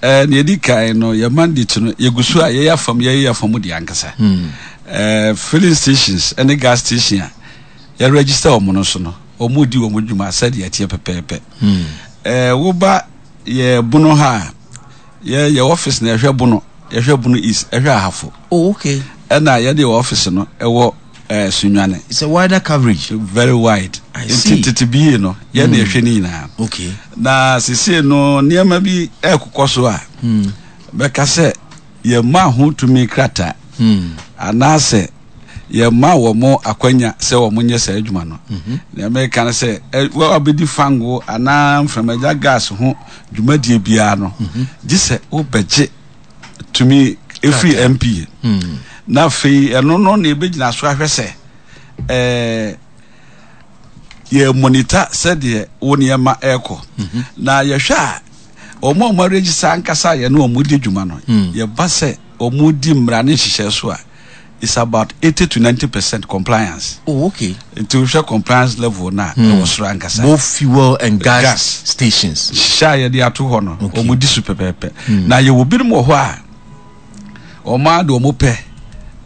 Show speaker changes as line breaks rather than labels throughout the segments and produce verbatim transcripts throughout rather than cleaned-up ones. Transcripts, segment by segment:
Eh, nea ɛdi kan no, yɛ mandate no, yɛgu so a yɛyɛ afam yɛyɛ afam deɛ ankasa. Eh, filling stations ne gas station a yɛregister wɔn no so no, wɔn di wɔn dwuma sɛdeɛ ɛteɛ pɛpɛɛpɛ. Eh, woba yɛ Bono ha a, yɛ yɛ office na yɛhwɛ Bono, yɛhwɛ Bono East, ɛhwɛ Ahafo.
Oh, okay.
Ɛna yɛde yɛ office no ɛwɔ eh, Sunyani.
It's a wider coverage.
Very wide.
I see.
Nti tete bie no, yɛn na yɛhwɛ ne nyinaa.
Okay.
Na seesei no, nneɛma bi ɛrekokɔ so a bɛka sɛ yɛma ho tumi krataa anaasɛ yɛma wɔn akwanya sɛ wɔn nyɛ saa adwuma no. Nea mɛka no sɛ ɛ wɔabɛdi fango anaa mframagya gas ho dwumadie biara no, gye sɛ wobɛgye tumi efiri M P A, na afei ɛno no na ebɛgyina so ahwɛ sɛ ɛɛ yɛ monitor sɛdeɛ wo nneɛma ɛrekɔ. Na yɛhwɛ a, wɔn a wɔn aregister ankasa a yɛne wɔn di dwuma no, yɛba sɛ wɔn di mmara ne nhyehyɛ so a, it's about eighty to ninety percent compliance.
Oh, okay.
Nti wohwɛ compliance level na ɛwɔ soro ankasa.
Both fuel and gas,
Gas.
stations.
Nhyehyɛ a yɛde ato hɔ no,
Okay.
wɔn di so pɛpɛɛpɛ. Na yɛwɔ binom wɔ hɔ a wɔn a de wɔn pɛ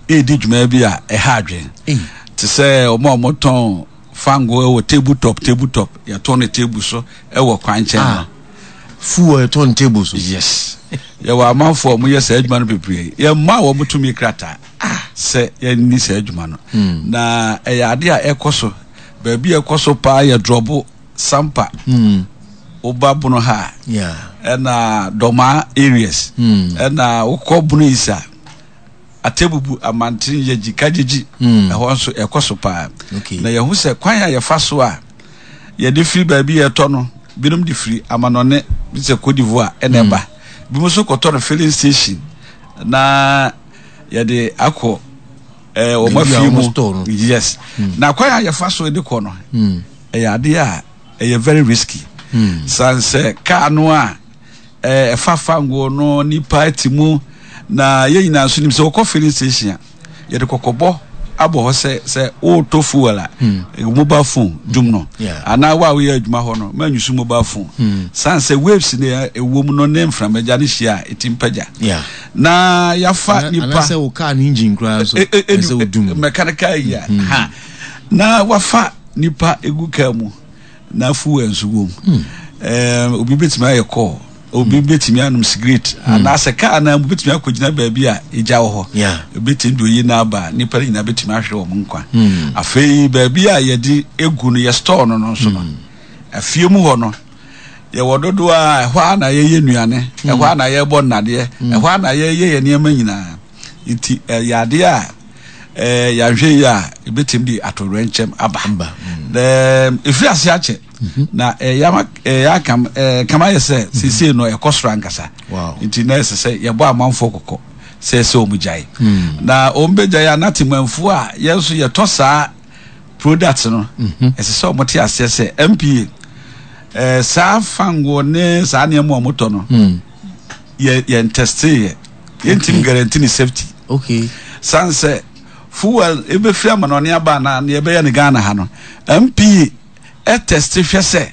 edi dwuma bi a ɛha adwene,
Ei.
te sɛ wɔn a wɔtɔn fango wɔ table top, table top, yɛtɔn no table so ɛwɔ kwan nkyɛn no.
Ah. Fuel ɛtɔn table so.
Yes, yɛwɔ amanfoɔ a wɔyɛ saa adwuma no bebree. Yɛmma wɔn tumi krataa sɛ yɛnni saa adwuma no. Na ɛyɛ ade a ɛkɔ so. Baabi a ɛkɔ so paa yɛ Drɔbo, Sampa, woba Bono ha a,
Yeah.
ɛna Dɔmaa areas, ɛna wokɔ Bono Isa, Atebubu, Amanten, Yɛgyi, Kagyegyi, ɛhɔ nso ɛkɔ so paa.
Okay.
Na yɛhu sɛ kwan a yɛfa so a yɛde firi baabi yɛtɔ no, binom de firi amanɔne bi sɛ Cote d'Ivoire ɛna ɛba, binom nso kɔtɔ no filling station na yɛde akɔ ɛɛ wɔn
Baabi a
afie
wɔn
mu.
store no.
Yes, na kwan a yɛfa so de kɔ no, ɛyɛ adeɛ a ɛyɛ very risky, san sɛ kaa no a ɛɛ ɛfa fango no, nipa ti mu. Na yɛn nyinaa nso nim sɛ wɔkɔ filling station a, yɛde kɔkɔbɔ abɔ hɔ sɛ sɛ wɔretɔ fuel a, mobile phone dum no
Yeah.
anaa wo a woyɛ adwuma hɔ no, ma use mobile phone, san sɛ waves ne ɛwɔ mu no ne mframagya no hyia a, ɛti mpagya
Yeah.
na yɛafa nipa.
Anaasɛ wo car ne engine koraa nso
E- e- e-
ɛsɛ wo dum.
Mechanical yi a ha na wafa nipa egu kaa mu na fuel nso wɔ mu. ɛɛm obi betumi ayɛ call, obi betumi anom cigarette, anaasɛ kaa na mu betumi akɔgyina baabi a egya wɔ hɔ,
Yeah.
ebetumi de oyi n'aba, nipa no nyinaa betumi ahwere wɔn nkwa. Afei baabi a yɛde egu no, yɛ store no no nso no, afie mu hɔ no, yɛwɔ dodoɔ a ɛhɔ a na yɛyɛ nnuane, ɛhɔ a na yɛbɔ nnadeɛ, ɛhɔ a na yɛyɛ yɛ nneɛma nyinaa. Nti ɛyɛ adeɛ a ɛɛ yɛahwɛ yi a, ebetumi de atowerɛnkyɛm aba.
Aba.
Ɛɛm efiri ase akyɛ na ɛyɛ ama ɛyɛ akam ɛɛ kama yɛ sɛ seesei no ɛkɔ soro ankasa.
Wow.
Nti na ɛsɛ sɛ yɛbɔ amanfoɔ kɔkɔ sɛ ɛsɛ wɔn gyae, na wɔn bɛgyae a, na temanfoɔ a yɛn nso yɛtɔ saa product no, ɛsɛ sɛ wɔn te aseɛ sɛ M P A ɛɛ saa fango ne saa nneɛma a wɔtɔ no, yɛ yɛn test yɛ, yɛntumi guarantee ne safety,
Okay.
san sɛ fuel ebɛfiri amanɔne aba na nea ɛbɛyɛ ne Ghana ha no, M P A ɛtest hwɛ sɛ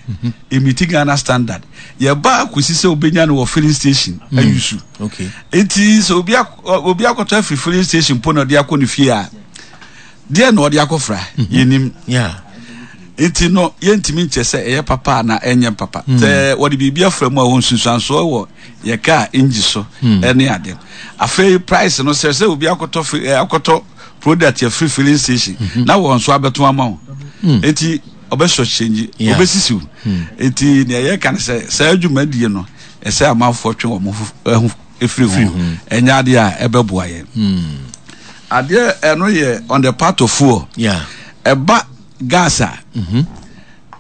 ɛmeet Ghana standard. Yɛba akɔsi sɛ wobɛnya no wɔ filling station ayusu.
Okay.
Nti sɛ obi ak- obi akɔtɔ afiri filling station po na ɔde akɔ ne fie a, deɛ na ɔde akɔfra yɛnim.
Yeah.
Nti no yɛntumi nkyɛ sɛ ɛyɛ papa na ɛnyɛ papa sɛ wɔde biribi afra mu a wɔn nsunsuansoɔ wɔ yɛ kaa engine so ɛne ade. Afei price no, sɛ sɛ obi akɔtɔ fi ɛ akɔtɔ product yɛ free filling station na wɔn nso abɛto ama wo, nti ɔbɛsɔ change,
Yeah.
ɔbɛsisiw. Nti nea yɛka no sɛ saa dwumadie no, ɛsɛ amanfoɔ twe wɔn ho ɛho efiri ho. Ɛnyɛ adeɛ a ɛbɛboa yɛn. Adeɛ ɛno yɛ on the part of fuel.
Yeah.
Ɛba gas a,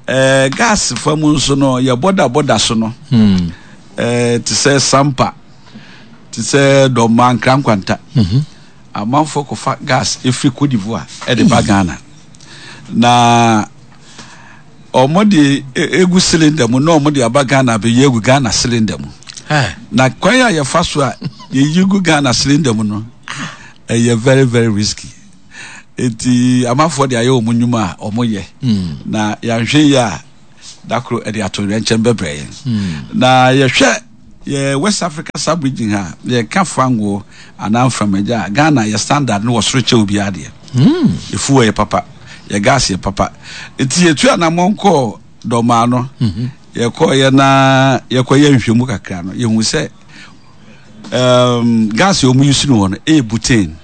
ɛɛ gas fa mu nso no, yɛ border border so no, ɛɛ te sɛ Sampa, te sɛ Dɔma, Nkrankwanta, amanfoɔ kɔfa gas efiri Cote d'Ivoire ɛde ba Ghana na wɔn de e- egu cylinder mu na wɔn de aba Ghana abɛyi egu Ghana cylinder mu.
Hey.
Na kwan a yɛfa so a yɛyi gu Ghana cylinder mu no, ɛyɛ very very risky. Eti amanfoɔ de ayɛ wɔn nnwuma a wɔn yɛ, na yɛahwɛ yi a, dakoro ɛde ato nkyɛn bɛbrɛ yɛn. Na yɛhwɛ Yɛ West Africa sub region ha, yɛka fango anaa mframagya a, Ghana yɛ standard no wɔ soro kyɛ obiara deɛ.
Hmm.
Yɛ fuel yɛ papa, yɛ gas yɛ papa. Nti yɛtu anammɔn kɔɔ Dɔmaa no,
mhm.
yɛkɔɔyɛ na yɛkɔyɛ nhwɛmu kakra no, yɛhu sɛ um, gas a wɔn use no wɔ no ɛyɛ butane.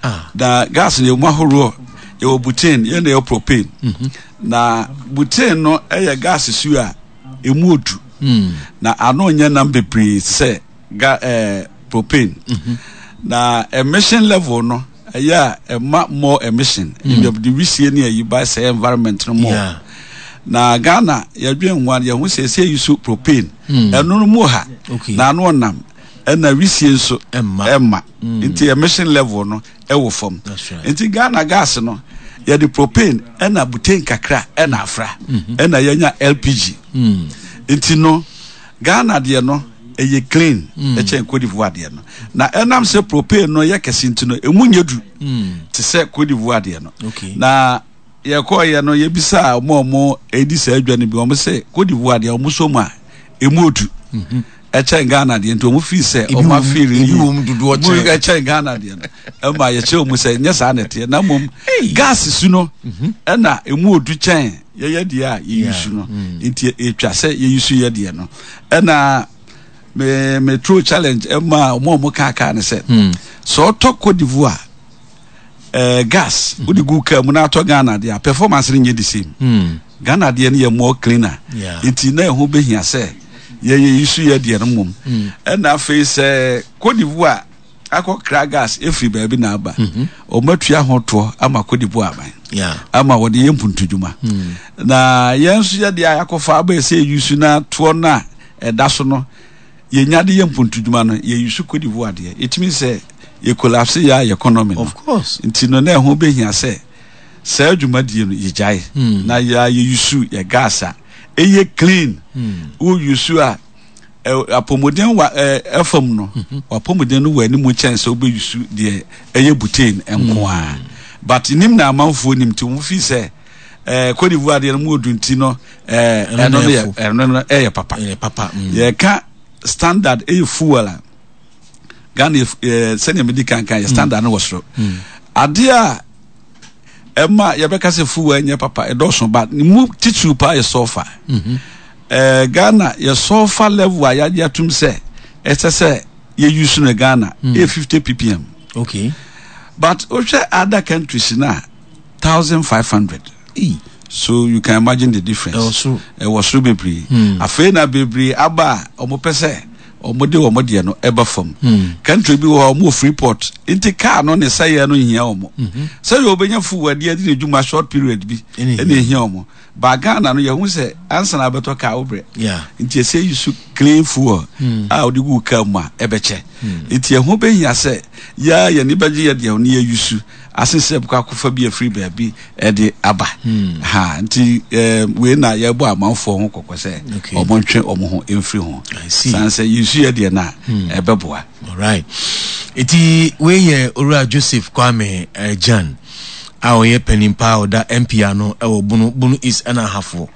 Ah.
Na gas no yɛ mu ahoroɔ, yɛwɔ butane, yɛn na yɛwɔ propane.
Mhm.
Na butane no ɛyɛ gas su a emu odu.
Mm.
Na ano nyɛ nam bebree sɛ ga ɛɛ eh, propane.
Mm -hmm.
Na emission level no ɛyɛ a ɛma more emission.
Mm.
Yɛde wisie ne ayi ba sɛ environment no more.
Yeah.
Na Ghana yɛdwen ho a yɛho sɛ ɛsɛ yi so propane.
Mm.
Ɛno no mu ha.
Okay.
Na ano ɔnam. Ɛna wisie nso
ɛmma.
Ɛmma.
Mm.
Nti emission level no ɛwɔ fam.
That's right.
Nti Ghana gas no yɛde propane ɛna butane kakra ɛna afra.
Mm-hmm.
Ɛna yɛnya L P G.
Mm.
Nti no Ghana deɛ no ɛyɛ clean
mm.
ɛkyɛn Cote d'Ivoire deɛ no. Na ɛnam sɛ propane no yɛ kɛse nti no emu nyɛ du
mm.
te sɛ Cote d'Ivoire deɛ no.
Okay.
Na yɛkɔɔyɛ no, yɛbisa ɔmo a ɔmo edi saa adwa no bi, ɔmo sɛ Cote d'Ivoire deɛ ɔmo so mu a emu odu
mm-hmm.
ɛkyɛn Ghana deɛ, nti ɔmo fi sɛ
Ebi
ɔmo
wɔ mu-
afeeli
ebi wɔ mu dodoɔ kyɛn.
Ɛkyɛn Ghana deɛ no. Ɛma yɛkyerɛ ɔmo sɛ nyɛ saa na ɛteɛ, na mmom gas su no ɛna emu odu kyɛn yɛyɛ deɛ a yɛyi su no. Nti etwa sɛ yɛyi su yɛ deɛ no. Ɛna me me throw challenge ɛma ɔmo a ɔmo kaakaa ne sɛ sɛ ɔtɔ Cote d'Ivoire ɛɛ gas wode gu kaa mu na atɔ Ghana deɛ a, performance no nyɛ the same.
Mm.
Ghana deɛ no yɛ more cleaner.
Yeah.
Nti na ɛho bɛhia sɛ yɛyɛ yi so yɛ deɛ no mmom. Ɛna afei sɛ Cote d'Ivoire akɔkra gas ɛfiri baabi na aba, ɔmo atua ho toɔ ama Cote d'Ivoire aban
Yeah.
ama wɔde yɛ mpuntudwuma, na yɛn nso yɛde a yɛakɔfa aba sɛ yɛyi so na toɔ no a ɛda so no yɛnya de yɛ mpuntudwuma no, yɛyi so Cote d'Ivoire deɛ, ɛtumi sɛ yɛ collapse yɛ a yɛ economy no.
Of course.
Nti no na ɛho bɛhia sɛ saa dwumadie no yɛgyae na yɛ yɛuse yɛ gas a ɛyɛ clean. Wouse a ɛ- apɔmuden wa ɛ, ɛfam no, wapɔmuden no wɔ anim kyɛn sɛ wobɛuse deɛ ɛyɛ butane nko a. But nim na amanfoɔ nim nti wɔn fi sɛ ɛɛ Cote d'Ivoire deɛ no mu odu, nti no ɛɛ
ɛno
ɛno
na
no yɛ
ɛfo.
Ɛno no ɛyɛ papa.
Ɛyɛ papa. Mm.
Yɛka standard ɛyɛ fuel a, Ghana yɛ ɛɛ sɛnea medi kankan yɛ standard no wɔ soro. Adeɛ a ɛma yɛbɛka sɛ fuel nyɛ papa ɛdɔɔso, ba ne mu titiriw paa yɛ sulfur. ɛɛ Ghana yɛ sulfur level a yɛagye atum sɛ ɛsɛ sɛ yɛuse no Ghana ɛyɛ fifty p p m.
Okay.
But wohwɛ other countries na thousand five hundred.
Ee.
So you can imagine the difference.
Ɛwɔ soro.
Ɛwɔ soro bebree. Afei na bebree aba a wɔn pɛ sɛ wɔn de wɔn deɛ no ɛba fam. Country bi wɔ hɔ a wɔn wɔ free port, nti car no ne sɛyɛ no nhia wɔn sɛyɛ wɔbɛnya fuel adeɛ de ne dwuma short period bi.
Ɛna
ɛna ehia wɔn. Ba Ghana no, yɛho sɛ ansa na abɛtɔ car wobrɛ.
Yeah.
Nti ɛsɛ yi so clean fuel a wɔde gu car mu a ɛbɛkyɛ, nti ɛho bɛhia sɛ yɛa yɛn ani bɛgye yɛ deɛ ne yɛ use ase sɛ bɛkɔ akɔfa bi afiri baabi ɛde aba ha. Nti ɛɛ wei na yɛbɔ amanfoɔ ho kɔkɔ sɛ
Okay.
ɔmo ntwe ɔmo ho mfiri ho.
I see.
San sɛ use yɛ deɛ no a ɛbɛboa.
Alright. Eti wei yɛ Owura Joseph Kwame eh, Jan a ɔyɛ panin pa a ɔda M P ano ɛwɔ Bono Bono East ɛna Ahafo,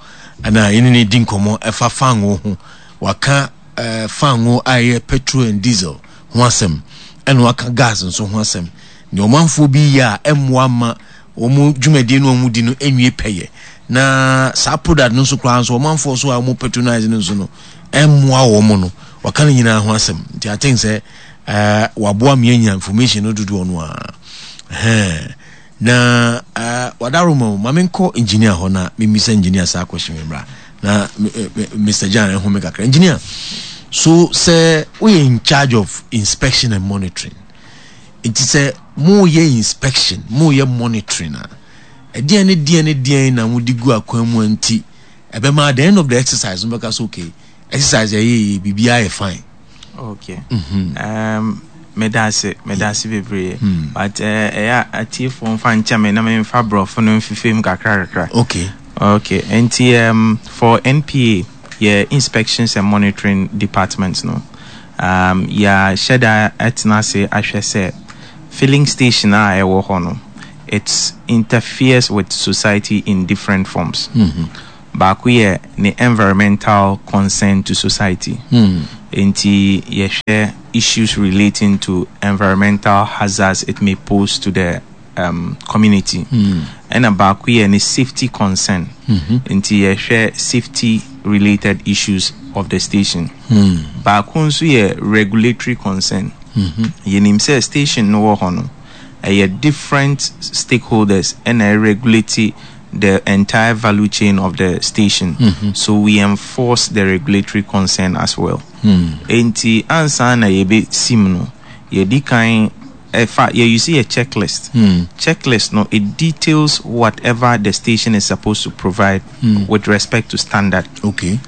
ɛna yɛne ne di nkɔmmɔ ɛfa fango ho. Waka eh, fango a ɛyɛ petrol and diesel ho asɛm, ɛna waka gas nso ho asɛm. Nea ɔmanfoɔ bi yɛ a ɛmmoa ma wɔn dwumadie no a wɔn di no nwie pɛyɛ, na saa product no nso koraa nso ɔmanfoɔ so a wɔn patronize no nso no ɛmmoa wɔn no, waka no nyinaa ho asɛm. Nti I think sɛ ɛɛ waboa mi anya information no dodoɔ no a ɛhɛn na ɛɛ wadaroma o. Maame nkɔ engineer hɔ na mímisa engineer saa question mi mmra na Mister Jan ɛho mi kakra. Engineer, so sɛ woyɛ in charge of inspection and monitoring, nti sɛ moyɛ inspection, moyɛ monitoring a, ɛdeɛn ne deɛn ne deɛn na mode gu akwan mu a nti ɛbɛma at the end of the exercise no bɛka so, okay, exercise ɛyɛ yɛ biribiara yɛ fine?
Okay. um, meda ase, meda ase bebree, but ɛyɛ uh, atiefoɔ mfa nkyɛ me na memfa borɔfo no mfifim kakra kakra.
Okay.
Okay, nti um, for N P A, yɛ inspections and monitoring department no, um, yɛahyɛ da atena ase ahwɛ sɛ filling station a ɛwɔ hɔ no, it interferes with society in different forms.
mm -hmm.
Baako yɛ ne environmental concern to society.
Mm.
Nti yɛhwɛ issues relating to environmental hazards it may pose to the um, community.
Mm.
Ɛna baako yɛ ne safety concern.
Mm-hmm.
Nti yɛhwɛ safety related issues of the station.
Mm.
Baako nso yɛ regulatory concern.
Mm-hmm.
Yɛnim sɛ station no wɔ hɔ no, ɛyɛ different stakeholders ɛna ɛregulate the entire value chain of the station.
Mm-hmm.
So we enforce the regulatory concern as well.
Mm.
Enti ansa na yɛbɛsim no, yɛdi kan ɛfa yɛ use a checklist.
Mm.
Checklist no, it details whatever the station is supposed to provide
mm.
with respect to standard.
Okay.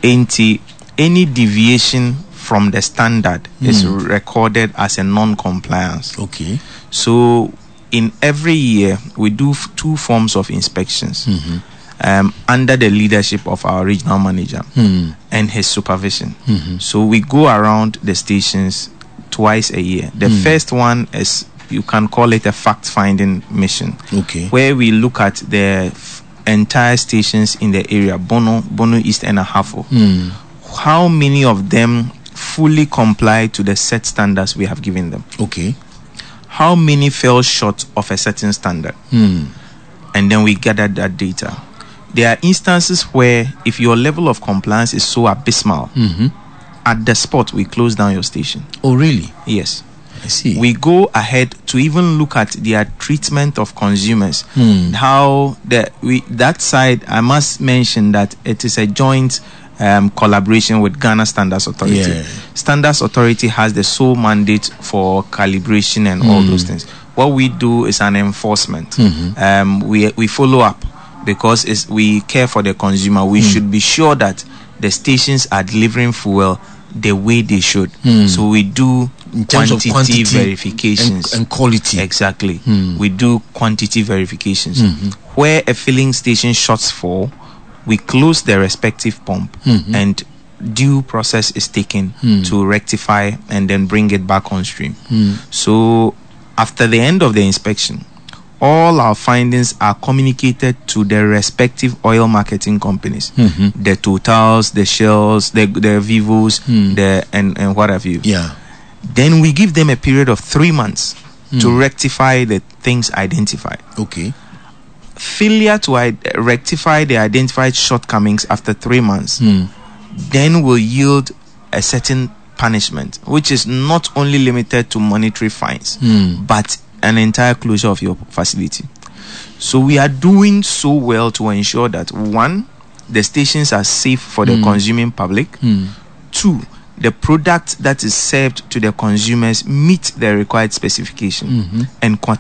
Enti any deviation from the standard
mm.
is recorded as a non-compliance.
Okay.
So in every year we do f- two forms of inspections.
Mm-hmm.
Um, under the leadership of our regional manager
mm.
and his supervision.
Mm-hmm.
So we go around the stations twice a year. The
mm.
first one is, you can call it a fact-finding mission.
Okay.
Where we look at the f- entire stations in the area, Bono, Bono East and Ahafo.
Mm.
How many of them fully comply to the set standards we have given them?
Okay.
How many fell short of a certain standard?
Mm.
And then we gather that data. There are instances where if your level of compliance is so abysmal,
mm-hmm.
at the spot we close down your station.
Oh, really?
Yes.
I see.
We go ahead to even look at their treatment of consumers.
Mm.
How the we that side, I must mention that it is a joint um, collaboration with Ghana Standards Authority.
Yeah.
Standards Authority has the sole mandate for calibration and
mm.
all those things. What we do is an enforcement.
Mm-hmm.
Um, we, we follow up because it's, we care for the consumer. We
mm.
should be sure that the stations are delivering fuel the way they should.
Mm.
So we do
in terms
quantity,
of quantity
verifications.
And, and quality.
Exactly.
Mm.
We do quantity verifications.
Mm-hmm.
Where a filling station shuts for, we close the respective pump
mm-hmm.
and due process is taken
mm.
to rectify and then bring it back on stream.
Mm.
So after the end of the inspection, all our findings are communicated to the respective oil marketing companies,
mm-hmm.
the Totals, the Shells, the, the Vivos,
mm.
the and, and what have you.
Yeah.
Then we give them a period of three months
mm.
to rectify the things identified.
Okay.
Failure to I- rectify the identified shortcomings after three months
mm.
then will yield a certain punishment, which is not only limited to monetary fines,
mm.
but an entire closure of your facility. So we are doing so well to ensure that, one, the stations are safe for the
mm.
consuming public.
Mm.
Two, the product that is served to the consumers meet the required specification
mm-hmm.
and qu-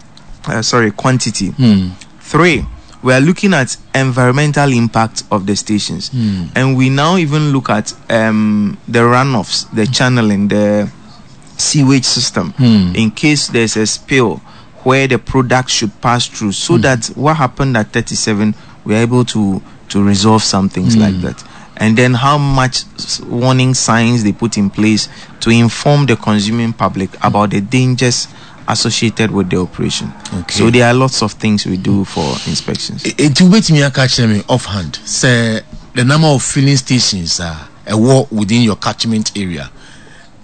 uh, sorry quantity.
Mm.
Three, we are looking at environmental impact of the stations.
Mm.
And we now even look at um, the runoffs, the channeling, the sewage system,
mm.
in case there's a spill where the product should pass through, so
mm.
that what happened at thirty-seven, we are able to, to resolve some things
mm.
like that. And then how much warning signs they put in place to inform the consuming public about the dangers associated with the operation.
Okay.
So there are lots of things we do for inspections.
It will wait me catch me offhand. Say the number of filling stations are a war within your catchment area.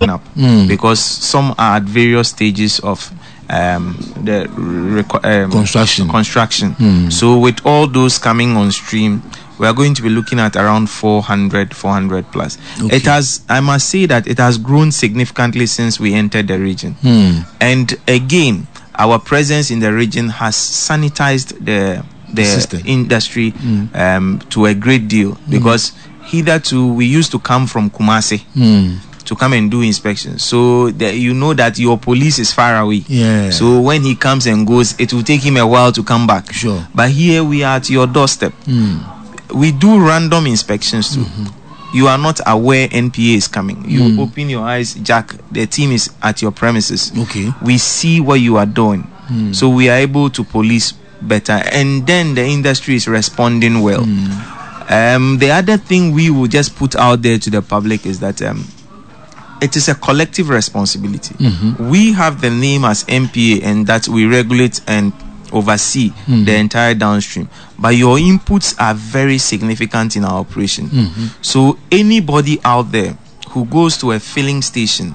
Up
mm.
because some are at various stages of um, the reco- um,
construction.
Construction.
Mm.
So with all those coming on stream, we are going to be looking at around four hundred, four hundred plus.
Okay.
It has, I must say that it has grown significantly since we entered the region.
Mm.
And again, our presence in the region has sanitized the, the
System.
industry
mm.
um, to a great deal, because
mm.
hitherto we used to come from Kumasi.
Mm.
To come and do inspections. So that you know that your police is far away.
Yeah.
So when he comes and goes, it will take him a while to come back.
Sure.
But here we are at your doorstep.
Mm.
We do random inspections too.
Mm-hmm.
You are not aware N P A is coming. You
mm.
open your eyes, Jack, the team is at your premises.
Okay.
We see what you are doing.
Mm.
So we are able to police better. And then the industry is responding well.
Mm.
Um, the other thing we will just put out there to the public is that um, it is a collective responsibility.
Mm-hmm.
We have the name as N P A and that we regulate and oversee mm. the entire downstream. But your inputs are very significant in our operation. Mm-hmm. So anybody out there who goes to a filling station